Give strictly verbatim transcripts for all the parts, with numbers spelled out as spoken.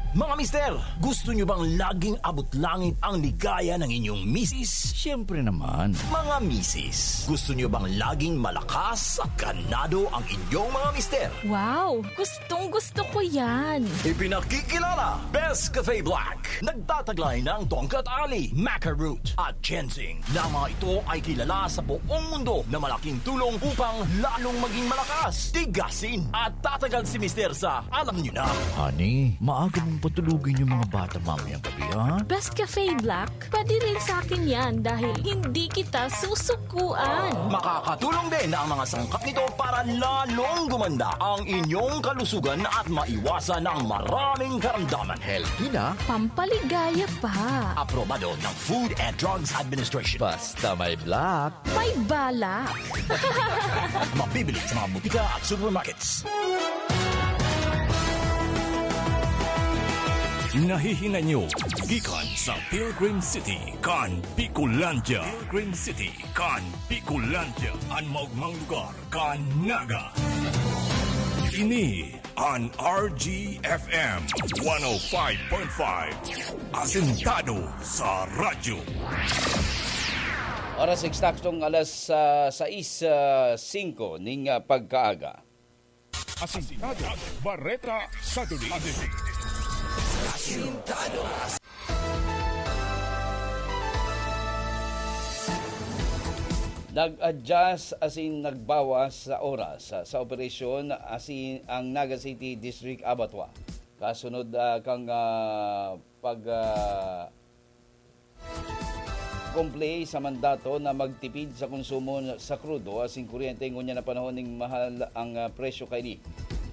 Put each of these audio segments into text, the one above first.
Mga mister, gusto nyo bang laging abot langit ang ligaya ng inyong misis? Siyempre naman. Mga misis, gusto nyo bang laging malakas at ganado ang inyong mga mister? Wow! Gustong gusto ko yan! Ipinakikilala, Best Cafe Black. Nagtataglay ng Tongkat Ali, Maca Root, at Ginseng. Na mga ito ay kilala sa buong mundo na malaking tulong upang lalong maging malakas, tigasin, at tatagal si mister sa alam nyo na. Honey, maaga mong patulugin yung mga bata mamayang gabi, ha? Best Cafe Black, pwede rin sa akin yan dahil hindi kita susukuan. Makakatulong din ang mga sangkap nito para lalong gumanda ang inyong kalusugan at maiwasan ang maraming karamdaman. Healthy na. Pampaligaya pa. Aprobado ng Food and Drugs Administration. Basta may black. May balak. Mabibili sa mga butika at supermarkets. Nahihinay nyo gikan sa Pilgrim City kan Bicolandia. Pilgrim City kan Bicolandia, an maogmang lugar kan Naga. Ini an R G F M one oh five point five, asentado sa radyo. Oras eksaktong alas, ah, sais, ah, singko ning, ah, pagkaaga. Asintado, Bareta sa Duli. Asintado. Nag-adjust asin nagbawas sa oras sa, sa operasyon asin ang Naga City District Abattoir. Kasunod, ah, kan, ah, pag, ah, comply sa mandato na magtipid sa konsumo sa krudo asin kuryente ngunyan na panahon ning mahal ang, ah, presyo kaini.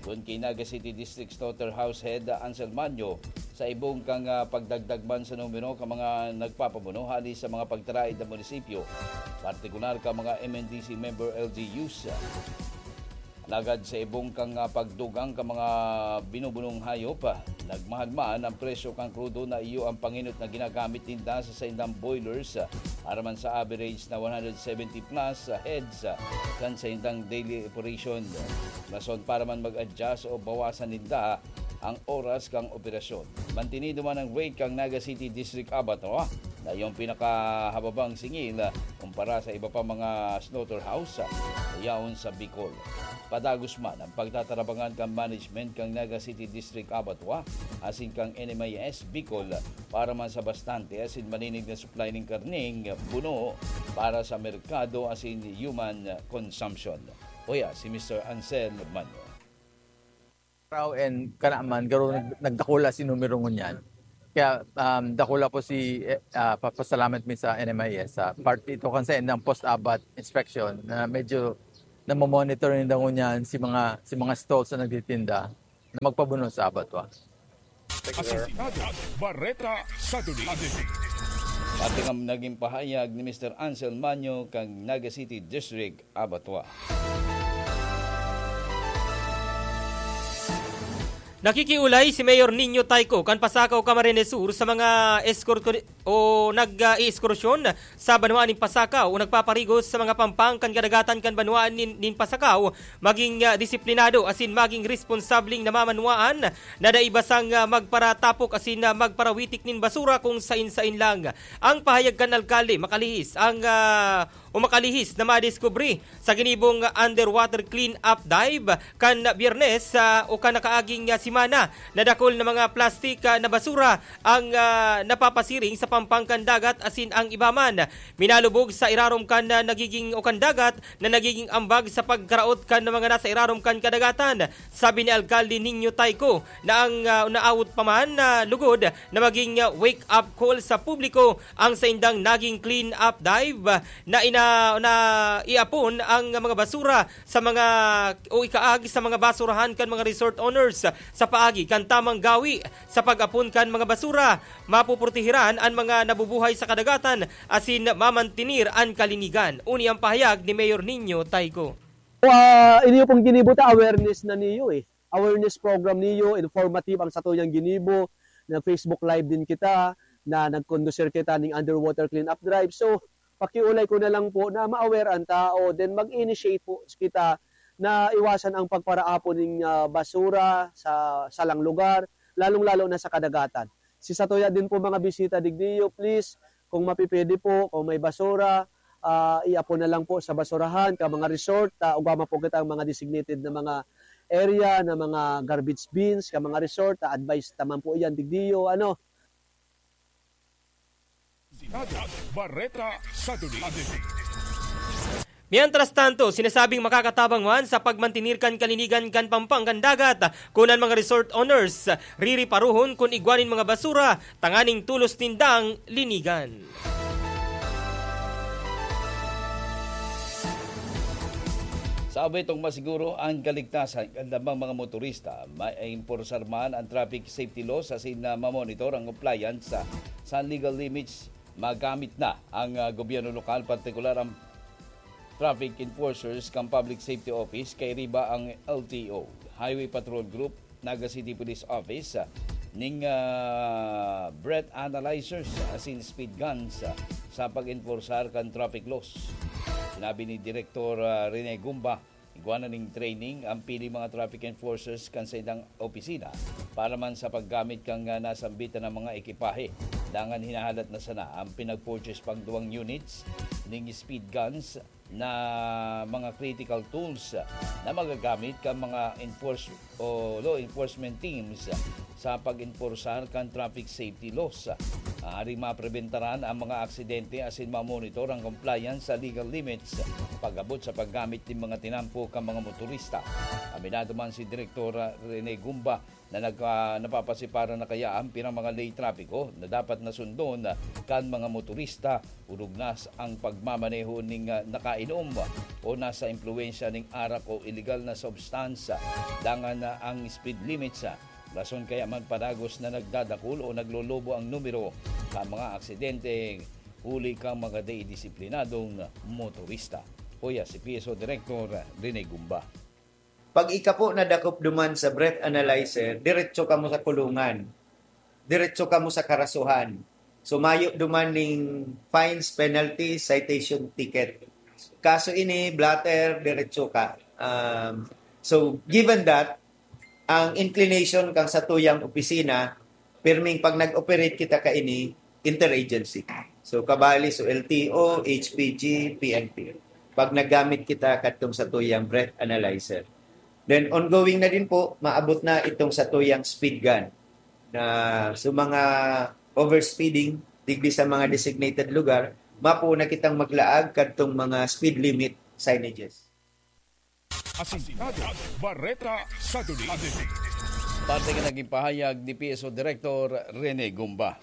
Kun ki Naga City District Slaughterhouse Head Ansel Manyo, sa ibong kan, ah, pagdagdag man sa numero kan mga nagpapabuno hali sa mga pagtaraid na munisipyo, partikular kan mga M N D C member L G Us. Alagad sa ibong kan, ah, pagdugang kan mga binubunong hayop, ah, nagmahal man ang presyo kan krudo na iyo ang pangenot na ginagamit ninda sa saindang boilers, ah, para man sa average na one hundred seventy plus, ah, heads, ah, kan saindang daily operation. Rason para man mag-adjust o bawasan ninda ang oras kan operasyon. Mantinido man ang rate kan Naga City District Abattoir na iyong pinakahababang singil, ah, kumpara sa iba pa mga slaughterhouse, ah, yaon sa Bicol. Padagos man ang pagtatarabangan kan management kan Naga City District Abattoir asin kan N M I S Bicol para man sa bastante asin malinig na supply nin karneng buno para sa merkado asin human consumption. Uya si Mister Ansel Manyo. Araw and kanaman, garo nag-, nagdakula si numero ngunyan. Kaya, um, dakula po si, eh, ah, papasalamat mi sa N M I S, sa part ito kan sa endang post-abat inspection na medyo namomonitor ninda ngunyan si mga, si mga stalls na nagtitinda na magpabuno sa abattoir. Asintado, Bareta sa Duli. Pati nga naging pahayag ni Mister Ansel Manyo kan Naga City District Abattoir. Nakikiulay si Mayor Nino Tayco kan Pasacao, Camarines Sur sa mga escort o nag-, ah, i-ekskursyon sa banwaan nin Pasacao o nagpaparigos sa mga pampang kan kadagatan kan banwaan nin, nin Pasacao, maging, ah, disiplinado asin maging responsableng namamanwaan na dai basang, ah, magparatapok asin, ah, magparawitik nin basura kung sain-sain lang. Ang pahayag kan alkalde makalihis ang, ah, o makalihis na madiskubre sa ginibong underwater clean-up dive kan Biyernes, ah, o kan nakaaging, ah, semana na dakul na mga plastik, ah, na basura ang, ah, napapasiring sa pampang kan dagat asin ang iba man minalubog sa irarom kan, ah, nagiging o kan dagat na nagiging ambag sa pagkaraot kan mga nasa irarom kan kadagatan. Sabi ni Alkalde Nino Tayco na ang, ah, naawot pa man na lugod na maging, ah, wake-up call sa publiko ang saindang naging clean-up dive, ah, na ina-, na iapon ang mga basura sa mga o ikaagi sa mga basurahan kan mga resort owners sa paagi kan tamang gawi sa pag-apon kan mga basura. Mapoprotehiran an mga nabubuhay sa kadagatan asin mamantenir an kalinigan. Uni ang pahayag ni Mayor Nino Tayco. Ah, iniyo pong ginibo ta, awareness na niyo eh. Awareness program niyo, informative ang sato niyang ginibo. Nag-Facebook Live din kita, na nag-conducir kita ning underwater cleanup drive. So, pakiulay ko na lang po na ma-aware ang tao, then mag-initiate po kita na iwasan ang pagparaapon ning, ah, basura sa salang lugar, lalong-lalo na sa kadagatan. Si satuya din po mga bisita digdiyo, please, kung mapipwede po, kung may basura, ah, iapon na lang po sa basurahan, ka mga resort, ah, ugama po kita ang mga designated na mga area, na mga garbage bins, ka mga resort, ah, advice naman po iyan, digdiyo, ano. Bareta sa Dulig. Mientras tanto, sinasabing makakatabang man sa pagmantenir kan kalinigan kan Pampangan Dagat kun an mga resort owners ririparohon kun igwa nin mga basura tanganing tulos nindang linigan. Sa abetong masiguro ang kaligtasan kan lamang mga motorista, maimporsar man ang traffic safety laws asin na mamonitor ang compliance sa, sa legal limits magamit na ang ah, gobyerno lokal, partikular ang traffic enforcers kan Public Safety Office, kay riba ang L T O, Highway Patrol Group, Naga City Police Office, ah, ning ah, breath analyzers asin speed guns ah, sa pag-enforcear kan traffic laws. Sinabi ni Direktor ah, Rene Gumba, igwa na ning training ang pili mga traffic enforcers kan saindang opisina para man sa paggamit kan ah, nasambitan na mga ekipahe. Dangan hinahalat na sana ang pinag-purchase pang duwang units ning speed guns na mga critical tools na magagamit kan mga enforce o law enforcement teams sa pag-enporsar kan traffic safety laws. Aaring mapreventaran ang mga aksidente asin mamonitor ang compliance sa legal limits pag-abot sa paggamit nin mga tinampo kan mga motorista. Aminado man si Direktor Rene Gumba na nagka, napapasiparan na kaya ang pirang mga ley trapiko na dapat na sundon kan mga motorista, orog na ang pagmamaneho ning ah, nakainom o nasa impluwensya ning arak o iligal na substansya. Dangan na ang speed limit sa rason kaya man padagos na nagdadakul o naglolobo ang numero sa mga aksidente huli kang mga dei disiplinadong motorista. Kuya si P S O Director Rene Gumba. Pag ika po nadakop duman sa breath analyzer, diretso kamo sa kulungan. Diretso kamo sa karasuhan. So mayo duman ning fines, penalties, citation, ticket. Kaso ini, blotter, diretso ka. Um, so given that, ang inclination kang satuyang opisina, pirming pag nag-operate kita kaini, interagency. So kabali so L T O, H P G, P N P. Pag nagamit kita kadtong satuyang breath analyzer. Then ongoing na din po, maabot na itong satuyang speed gun na sa mga overspeeding digdi sa mga designated lugar, mapo na kitang maglaag kadtong mga speed limit signages. Asintado, Bareta sa Dulig. Parte nga naging pahayag ni P S O Director Rene Gumba.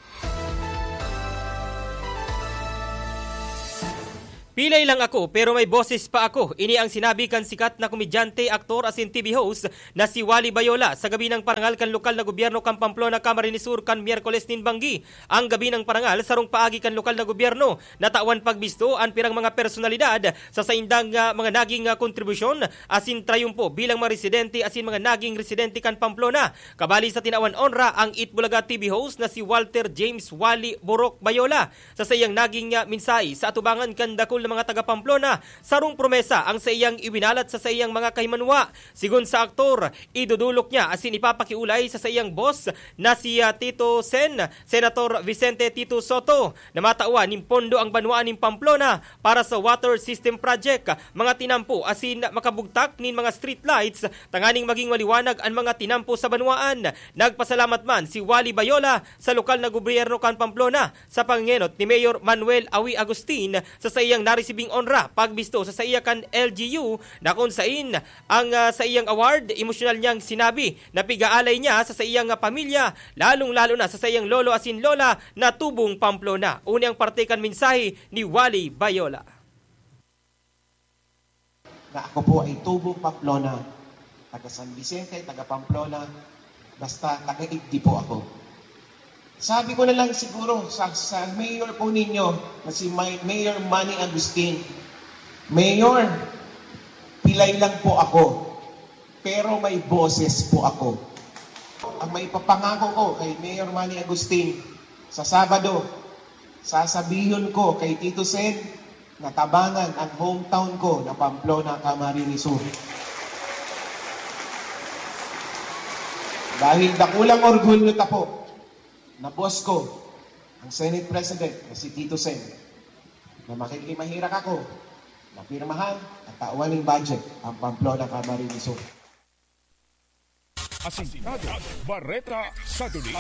Pilay lang ako pero may boses pa ako. Ini ang sinabi kan sikat na komedyante, aktor asin T V host na si Wally Bayola sa gabi ng parangal kan lokal na gobyerno kan Pamplona, Camarines Sur kan Miyerkules nin banggi. Ang gabi ng parangal sarong paagi kan lokal na gobyerno natawan pagbisto an pirang mga personalidad sa saindang ah, mga naging ah, kontribusyon asin trayumpo bilang mga residente asin mga naging residente kan Pamplona. Kabali sa tinawan onra ang Eat Bulaga T V host na si Walter James Wally Borok Bayola. Sa saiyang naging ah, mensahe sa atubangan kan dakul na mga taga Pamplona, sarong promesa ang saiyang iwinalat sa saiyang mga kahimanwa. Sigon sa aktor, idudulok niya asin ipapakiulay sa saiyang boss na si ah, Tito Sen, Senator Vicente Tito Sotto, na matawan nin pondo ang banwaan nin Pamplona para sa water system project, mga tinampo asin makabugtak nin mga street lights tanganing maging maliwanag an mga tinampo sa banwaan. Nagpasalamat man si Wally Bayola sa lokal na gobyerno kan Pamplona sa pangenot ni Mayor Manuel Awi Agustin sa saiyang naresibing onra pagbisto sa saiya kan L G U na kun sain ang ah, saiyang award, emosyonal niyang sinabi na pig-aalay niya sa saiyang ah, pamilya, lalong-lalo na sa saiyang lolo asin lola na tubong Pamplona. Uni ang parte kan mensahe ni Wally Bayola. Na ako po ay tubong Pamplona, taga San Vicente, taga Pamplona, basta taga-igdi po ako. Sabi ko na lang siguro sa, sa mayor po ninyo na si May, Mayor Manny Agustin, Mayor, pilay lang po ako, pero may boses po ako. Ang may papangako ko kay Mayor Manny Agustin, sa Sabado, sasabihon ko kay Tito Sen, natabangan ang hometown ko na Pamplona, Camarines Sur. Dahil dakulang orgulyo ta po na boss ko, ang Senate President na si Tito Sen, na makikimahirak ako na pirmahan at tawan nin budget ang Pamplona Camarines Sur. Asintado, Bareta sa Duli.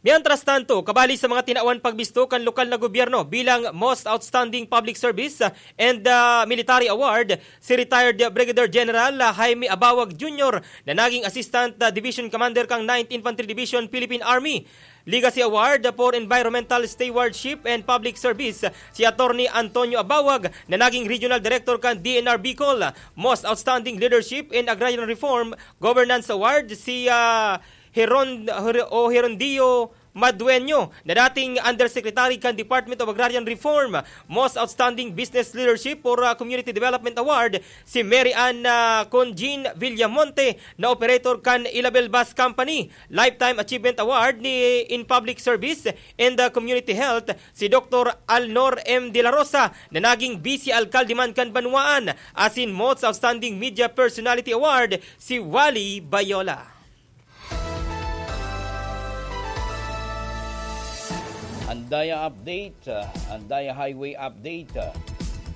Mientras tanto, kabali sa mga tinawan pagbisto kan lokal na gobyerno bilang Most Outstanding Public Service and, ah, Military Award, si retired Brigadier General, ah, Jaime Abawag Junior na naging Assistant, ah, Division Commander kan Ninth Infantry Division, Philippine Army. Legacy Award for Environmental Stewardship and Public Service, si Attorney Antonio Abawag na naging Regional Director kan D N R Bicol. Most Outstanding Leadership in Agrarian Reform, Governance Award, si, ah, Heron-, Her-, o Herondio Madueño, na dating Undersecretary kan Department of Agrarian Reform. Most Outstanding Business Leadership for, ah, Community Development Award, si Mary Ann, ah, Conjean Villamonte, na operator kan Ilabel Bus Company. Lifetime Achievement Award ni in Public Service and, ah, Community Health, si Doktor Alnor M. De La Rosa, na naging Vice Alkalde man kan Banwaan, asin Most Outstanding Media Personality Award, si Wally Bayola. Andaya update, ah, Andaya Highway update. Ah,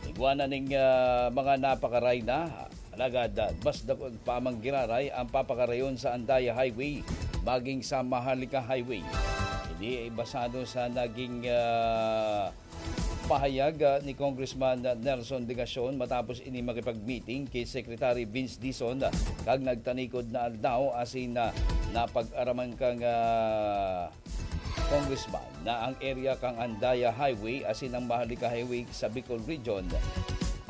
igwa na ning, ah, mga napakaray na. Alagad, ah, mas dakul pa man giraray ang papakarayon sa Andaya Highway, maging sa Maharlika Highway. Ini ay basado sa naging, ah, pahayag, ah, ni Congressman, ah, Nelson Legacion matapos ini makipag-meeting ki Secretary Vince Dizon, ah, kan nagtanikod na aldaw asin, ah, napag-araman kan, ah, Congressman na ang area kan Andaya Highway asin ang Maharlika Highway sa Bicol Region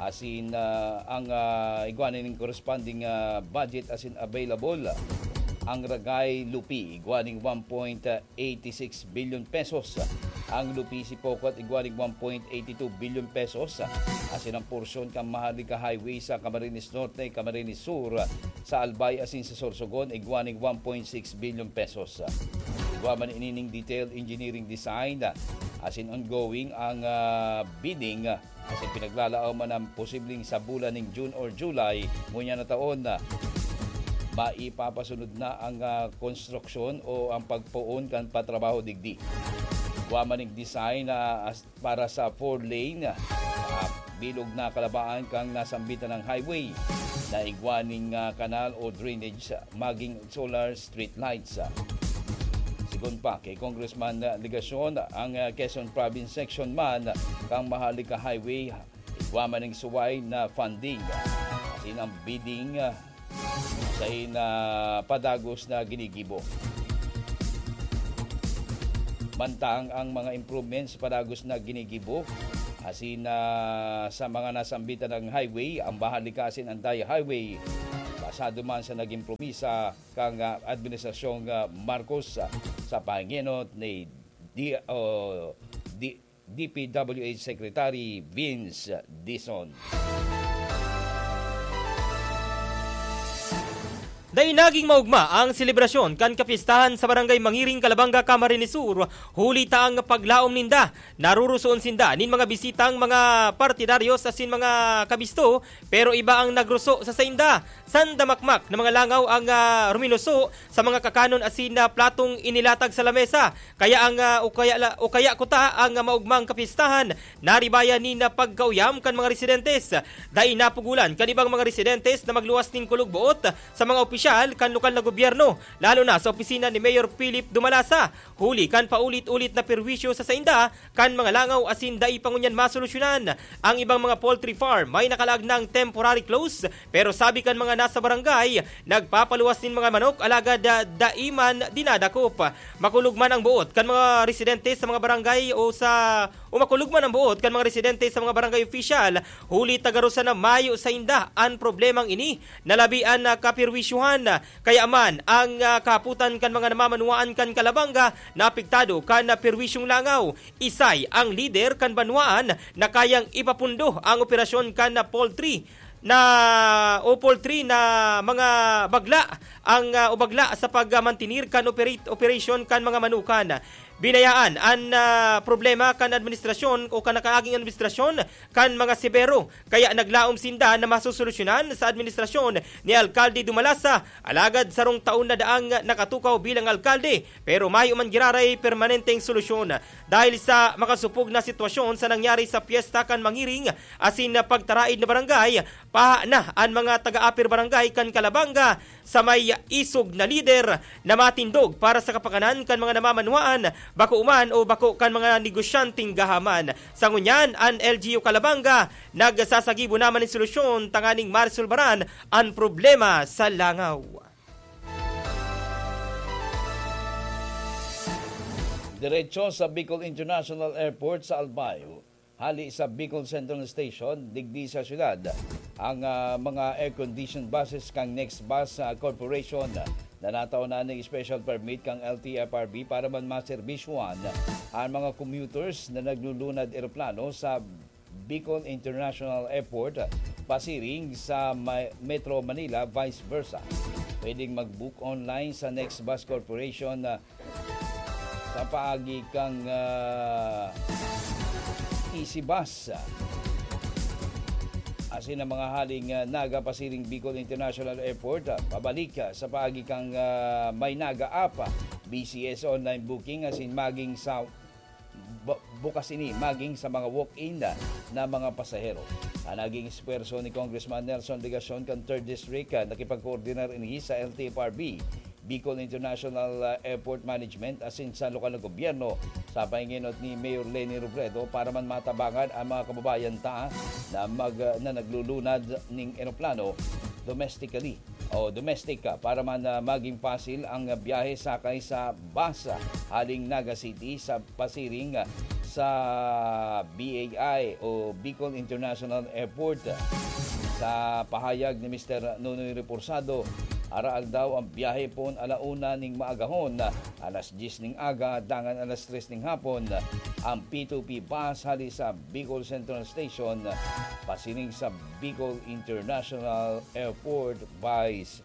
asin, ah, ang, ah, igwa nin corresponding, ah, budget asin available. Ang Ragay Lupi, igwa nin one point eighty-six billion pesos. Ang Lupi Sipocot, igwa nin one point eighty-two billion pesos. Asin ang porsyon kan Maharlika Highway sa Camarines Norte, Camarines Sur, sa Albay asin sa Sorsogon, igwa nin one point six billion pesos. Igwa man ini nin detailed engineering design, asin ongoing ang, ah, bidding, asin pinaglalaaw man ang posibleng sa bulan nin June or July ngunyan na taon, maipapasunod na ang, ah, konstruksyon o ang pagpoon kan patrabaho digdi. Igwa man nin design na as-, para sa four lane, ah, bilog na kalabaan kan nasambitan na highway na igwa nin, ah, kanal o drainage, ah, magin solar street lights. Sigon pa ki Congressman, ah, Legacion, ang, ah, Quezon Province section man kan Maharlika Highway, igwa man nin suway na funding. Asin ang bidding, ah, sain na padagos na ginigibo. Mantang ang mga improvements padagos na ginigibo, asin na sa mga nasambitan na highway, ang Maharlika asin Andaya Highway, basado man sa naging promisa kan, ah, Administrasyong, ah, Marcos, ah, sa pangenot ni D-, o, D-, D P W H Secretary Vince Dizon. Dai naging maogma ang selebrasyon kan kapistahan sa Barangay Mangiring, Calabanga, Camarines Sur, huli ta ang paglaom ninda, narurusoon sinda nin mga bisitang mga partidaryos asin mga kabisto, pero iba ang nagruso sa sainda. Sandamakmak na mga langaw ang, ah, ruminuso sa mga kakanon asin, ah, platong inilatag sa lamesa. Kaya ang, ah, o kaya la-, o kaya kuta ang, ah, maogmang kapistahan, naribayan nin, ah, pagkauyam kan mga residentes. Dai napugulan kan ibang mga residentes na magluwas nin kulog boot sa mga opisyal kan lokal na gobyerno, lalo na sa opisina ni Mayor Philip Dumalasa, huli kan paulit-ulit na perwisyo sa sainda kan mga langaw asin dai pa ngunyan masolusyonan. Ang ibang mga poultry farm may nakalaag nang temporary close, pero sabi kan mga nasa barangay, nagpapaluwas nin mga manok alagad, ah, dai man dinadakop. Makulog man ang boot kan mga residente sa mga barangay o sa, o makulog man ang boot kan mga residente sa mga barangay opisyal, huli ta garo sana mayo sainda an problemang ini na labi an, ah, kaperwisyuhan. Kaya man, ang, ah, kahapotan kan mga namamanwaan kan Calabanga na apektado kan, ah, perwisyong langaw. Isay ang lider kan banwaan na kayang ipapundo ang operasyon kan poultry na, o poultry na mga bagla ang, ah, o bagla sa pagmantenir kan operate-, operation kan mga manukan. Binayaan an, ah, problema kan administrasyon o kan nakaaging administrasyon kan mga sebero, kaya naglaom sinda na masosolusyonan sa administrasyon ni Alkalde Dumalasa. Alagad sarong taon na daang nakatukaw bilang alkalde, pero mayo man giraray permanenteng solusyon. Dahil sa makasupog na sitwasyon sa nangyari sa piyesta kan Mangiring asin pagtaraid na barangay, paha na an mga taga-apir barangay kan Calabanga sa may isog na lider na matindog para sa kapakanan kan mga namamanwaan, bako man o bako kan mga negosyanteng gahaman. Sa ngunyan, an L G U Calabanga nagsasagibo naman nin solusyon tanganing maresolbaran an problema sa langaw. Diretso sa Bicol International Airport sa Albay. Hali sa Bicol Central Station, digdi sa syudad, ang, ah, mga air-conditioned buses kan Next Bus, ah, Corporation na natao na ning special permit kan L T F R B para man maserbisyuhan ang mga commuters na naglulunad eroplano sa Bicol International Airport pasiring sa Ma-, Metro Manila, vice versa. Pwedeng mag-book online sa Next Bus Corporation, ah, sa paagi kan, ah, Easy Bus. Asin ang mga haling, ah, Naga pasiring Bicol International Airport, ah, pabalik, ah, sa paagi kan, ah, My Naga app, ah, B C S online booking, asin maging sa bu-, bukas ini maging sa mga walk-in na, na mga pasahero. Ang naging esfuerso ni Congressman Nelson Legacion kan Third District, ah, nakipagkoordinar ini sa L T F R B, Bicol International, ah, Airport Management asin sa lokal na gobyerno sa pahinginot ni Mayor Leni Robredo para man matabangan ang mga kababayan ta na mag-, na naglulunad ning eroplano domestically o domestic, ah, para man, ah, maging pasil ang biyahe sakay sa bus, ah, haling Naga City sa pasiring, ah, sa B A I o Bicol International Airport. Sa pahayag ni Mister Nonoy Reporsado, araal daw ang biyahe poon ala una ning maagahon, alas dyes ning aga, dangan alas tres ning hapon, ang P two P bus hali sa Bicol Central Station, pasiring sa Bicol International Airport, vice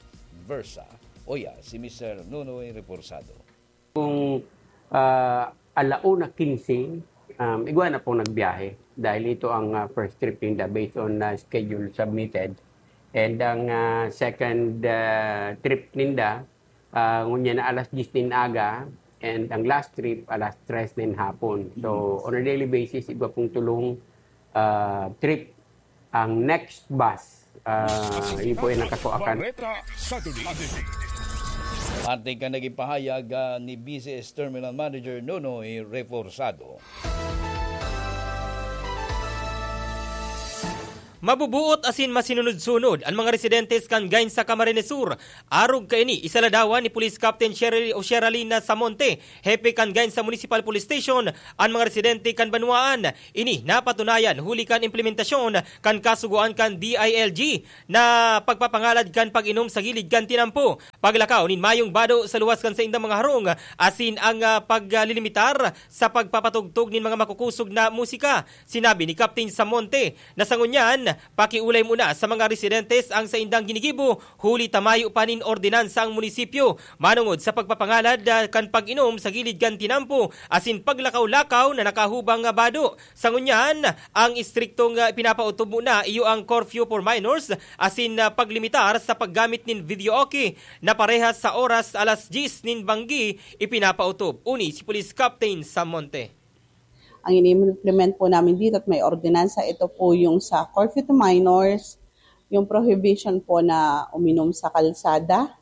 versa. Oya, si Mister Nonoy Reporsado. Kung, ah, ala una quince, um, igwa na pong nagbiyahe dahil ito ang, ah, first trip ninda based on, ah, schedule submitted. And ang, ah, second, ah, trip ninda, ah, ngunyan na alas dyes nin aga, and ang last trip alas tres nin hapon. So, on a daily basis, igwa pong tulong, ah, trip ang next bus. Ah, yun po yung nakasuakan. Bareta sa Duli. Parte kan naging pahayag, ah, ni B C S Terminal Manager Nonoy Reforzado. Mabubuot asin masinunod-sunod an mga residentes kan Gainsa, Camarines Sur. Arog kaini, isaladawan ni Police Captain Sherry o Sheralyn Samonte, hepe kan Gainsa Municipal Police Station, an mga residente kan banwaan. Ini napatunayan huli kan implementasyon kan kasugoan kan D I L G na pagpapangalad kan pag-inom sa gilid kan tinampo, paglakaw nin mayong bado sa luwas kan saindang mga harong, asin ang, ah, paglilimitar sa pagpapatugtog nin mga makukusog na musika. Sinabi ni Captain Samonte na sa ngunyan, pakiolay muna sa mga residentes ang saindang ginigibo, huli ta mayo pa nin ordinansa ang munisipyo manongod sa pagpapangalad, ah, kan pag-inom sa gilid kan tinampo asin paglakaw-lakaw na nakahubang nga bado. Sa ngunyan, ang istriktong, ah, ipinapautob muna iyo ang curfew for minors asin, ah, paglimitar sa paggamit nin videoke na parehas sa oras alas dyes nin banggi ipinapautob. Uni si Police Captain Samonte. Ang ini-implement po namin dito at may ordinansa, ito po yung sa curfew to minors, yung prohibition po na uminom sa kalsada,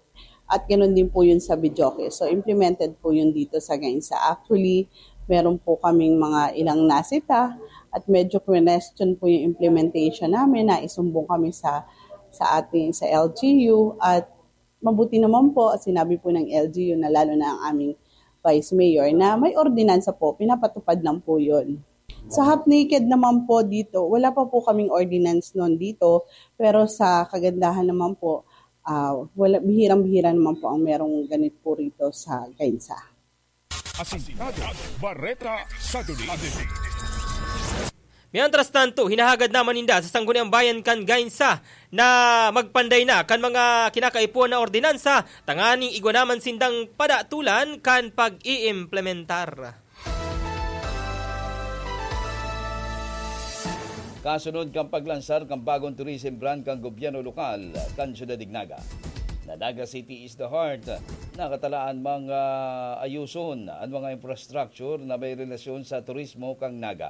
at ganun din po yun sa videoke. So, implemented po yun dito sa Gainsa. Actually, meron po kaming mga ilang nasita at medyo question po yung implementation namin. Naisumbong kami sa, sa ating, sa L G U, at mabuti naman po, sinabi po ng L G U na lalo na ang aming Vice Mayor na may ordinansa po, pinapatupad lang po yun. Sa half naked naman po dito, wala pa po kaming ordinance noon dito, pero sa kagandahan naman po, ah, wala, bihirang-bihira naman po ang merong ganito po rito sa Gainsa. Asintado, Bareta sa Duli. Mientras tanto, hinahagad naman ninda sa Sangguniang Bayan kan Gainsa na magpanday na kan mga kinakaipuhan na ordinansa tanganing igwa naman sindang padatulan kan pag-iimplementar. Kasunod kan paglansar kan bagong tourism brand kan gobyerno lokal kan Syudad Dignaga, na Naga City is the heart, nakatalaan mga ayuson an mga infrastructure na may relasyon sa turismo kan Naga.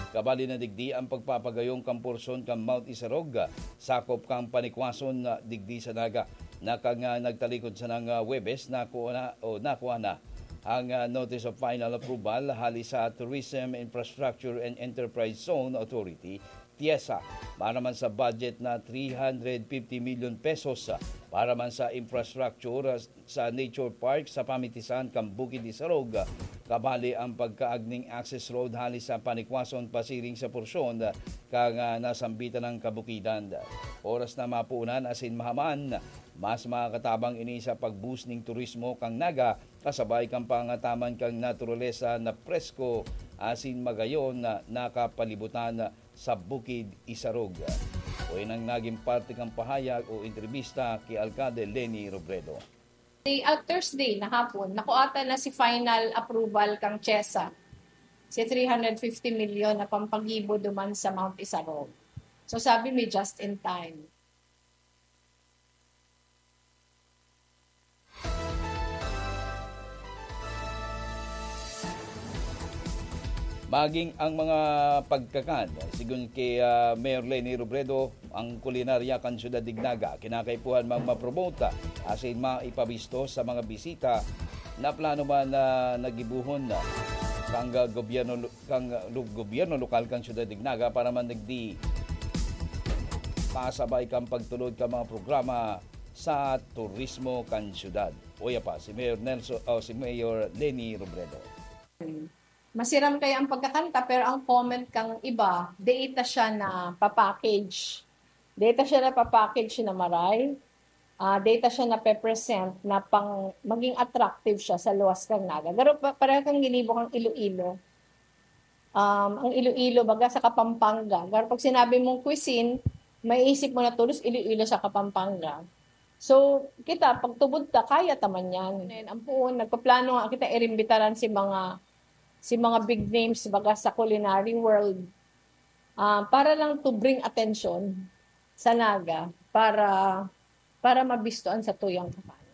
Kabali na digdi ang pagpapagayong kan porsyon kan Mount Isarog, sakop kan Panikwason, digdi sa Naga, na kan, ah, nagtalikod sanang, ah, Huwebes, nakuha na o nakuha na ang, ah, Notice of Final Approval hali sa Tourism Infrastructure and Enterprise Zone Authority, TIEZA, para man sa budget na three hundred fifty million pesos, ah, para man sa infrastructure, ah, sa Nature Park sa pamitisan kan Bukid Isarog, ah, kabali ang pagkaagning access road hali sa Panikwason pasiring sa porsyon, ah, kan, ah, nasambitan ng kabukidan. Oras na mapunan asin mahaman, mas makakatabang ini sa pag-boost ning turismo kan Naga, kasabay kan pangataman kan naturalesa na presko asin magayon na nakapalibutan sa Bukid Isarog. O yan ang naging parte kan pahayag o entrevista ki Alkalde Leni Robredo. Day, ah, Thursday na hapon, nakuha ta na si final approval kang TIEZA. Si three hundred fifty million na pampagibo duman sa Mount Isarog. So sabi mi, just in time. Maging ang mga pagkakan, sigon ki, ah, Mayor Leni Robredo, ang kulinarya kan Syudad Dignaga, kinakaipuhan mang mapromote, asin maipabisto sa mga bisita na plano man na nagibuhon na kan gobyerno lo-, kan lo-, gobyerno lokal kan Syudad Dignaga para man digdi pasabay kan pagtulod kan mga programa sa turismo kan syudad. Uya pa, si Mayor Nelson, o si Mayor Leni Robredo. Masiram kaya ang pagkakanta, pero ang comment kang iba, data siya na papackage. Data siya na papackage na maray. Ah, data siya na pe-present na pang maging attractive siya sa luwas kang Naga. Pero pa-, pareho kang ginibo kang Iloilo. Um, ang Iloilo, baga sa Kapampangan. Pero pag sinabi mong cuisine, maiisip mo na tulos Iloilo sa Kapampangan. So, kita, pagtubod ta, kaya ta man yan. And ang puon, nagpaplano nga kita, irimbitaran si mga, si mga big names, baga sa culinary world. Ah, para lang to bring attention sa Naga, para, para mabistoan sa tuyang kapanan.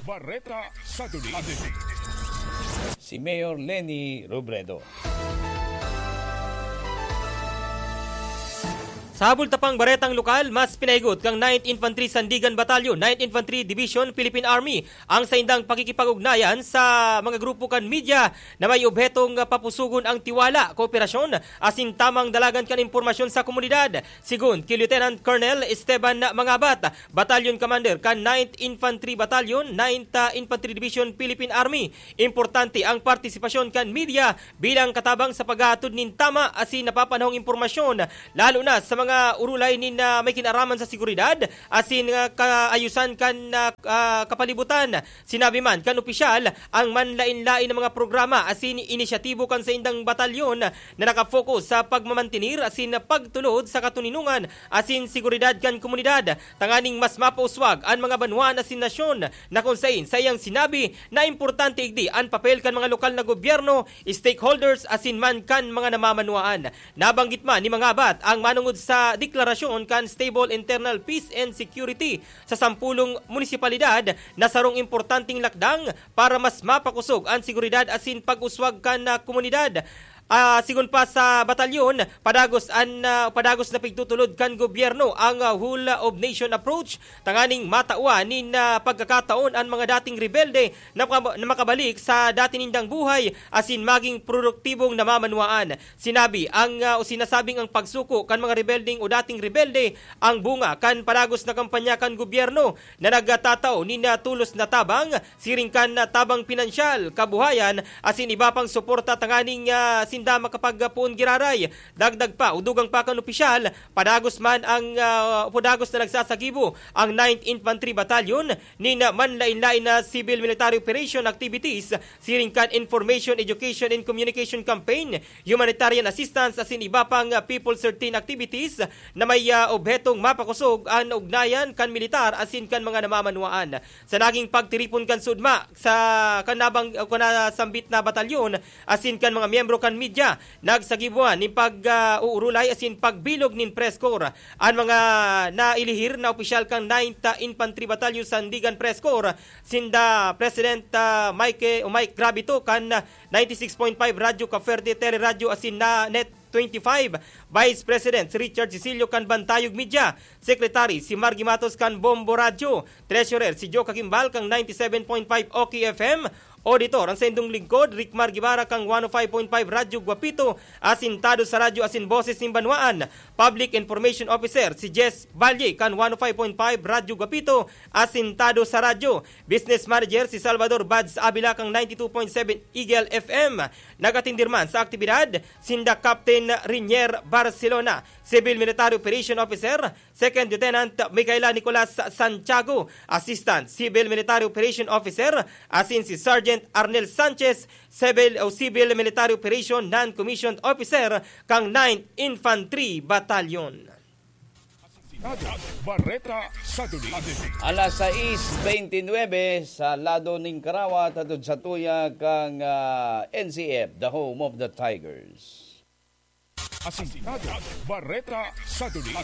Bareta sa Duli. Si Mayor Leni Robredo. Sa habol ta pang baretang lokal, mas pinahigot kang Ninth Infantry Sandigan Battalion, Ninth Infantry Division, Philippine Army, ang saindang pakikipag-ugnayan sa mga grupo kan media na may obhetong papusugon ang tiwala, kooperasyon, asin tamang dalagan kan impormasyon sa komunidad. Sigon ki Lieutenant Colonel Esteban Mangabat, Battalion Commander kan Ninth Infantry Battalion, Ninth Infantry Division, Philippine Army, importante ang partisipasyon kan media bilang katabang sa paghahatod nin tama asin napapanahong impormasyon, lalo na sa mga urulay nin, ah, may kinaraman sa seguridad asin, ah, kaayusan kan, ah, ah, kapalibutan. Sinabi man kan opisyal, ang manlain-lain na mga programa asin inisyatibo kan saindang batalyon na nakapokus sa pagmamantener asin pagtulod sa katoninongan asin seguridad kan komunidad, tanganing mas mapauswag an mga banwaan asin nasyon, na kun sain saiyang sinabi na importante igdi an papel kan mga lokal na gobyerno, stakeholders asin man kan mga namamanwaan. Nabanggit man ni Mangabat ang manongod sa deklarasyon kan stable internal peace and security sa sampulong munisipalidad na sarong importanteng lakdang para mas mapakosog an seguridad asin pag-uswag kan, ah, komunidad. Ah, sigon pa sa batalyon, padagos an, ah, padagos na pigtutulod kan gobyerno ang, ah, whole of nation approach tanganing matawan nin, ah, pagkakataon an mga dating rebelde na maka-, na makabalik sa dati nindang buhay asin maging produktibong namamanwaan. Sinabi ang, ah, o sinasabing ang pagsuko kan mga rebeldeng o dating rebelde ang bunga kan padagos na kampanya kan gobyerno na nagtatao nin, ah, tulos na tabang, siring kan, ah, tabang pinansyal, kabuhayan, asin iba pang suporta tanganing, ah, sinda makapagpoon giraray. Dagdag pa, o dugang pa kan opisyal, padagos man ang, ah, padagos na nagsasagibo ang Ninth Infantry Battalion nin manlain-lain na civil military operation activities, siring kan information, education and communication campaign, humanitarian assistance asin iba pang, ah, People thirteen activities na may, ah, obhetong mapakosog an ugnayan kan militar asin kan mga namamanwaan. Sa naging pagtiripon kan sudma sa kanabang, o kanasambit na batalyon asin kan mga miyembro kan media, nagsagibuan nin pag, ah, uurulay asin pagbilog nin press corps. An mga nailihir na opisyal kan Ninth Infantry Battalion Sandigan Press Corps, sinda President, ah, Mike, o Mike Gravito kan ninety-six point five Radyo Caferte Teleradyo asin na Net twenty-five, Vice President Richard Cecilio kan Bantayog Media, Secretary si Margie Matos kan Bombo Radyo, Treasurer si Joe Kakimbal kan ninety-seven point five Oki F M, Auditor ang saindong lingkod, Rick Margibara kan one oh five point five Radyo Guapito, asintado sa radyo asin boses nin banwaan. Public Information Officer si Jess Valle kan one oh five point five Radyo Guapito, asintado sa radyo. Business Manager si Salvador Bads Avila kan ninety-two point seven Eagle F M. Nagatindir man sa aktibidad sinda Captain Rinier Barcelona, Civil Military Operation Officer, Second Lieutenant Micaela Nicolas Santiago, Assistant Civil Military Operation Officer, asin si Sergeant Arnel Sanchez, Civil o Civil Military Operation Non-Commissioned Officer kan Ninth Infantry Battalion. Bareta sa Duli. Alas sais bentynwebe sa lado ning Karawa, hatod satuya kan, ah, N C F, the home of the Tigers. Asintado, Bareta sa Duli.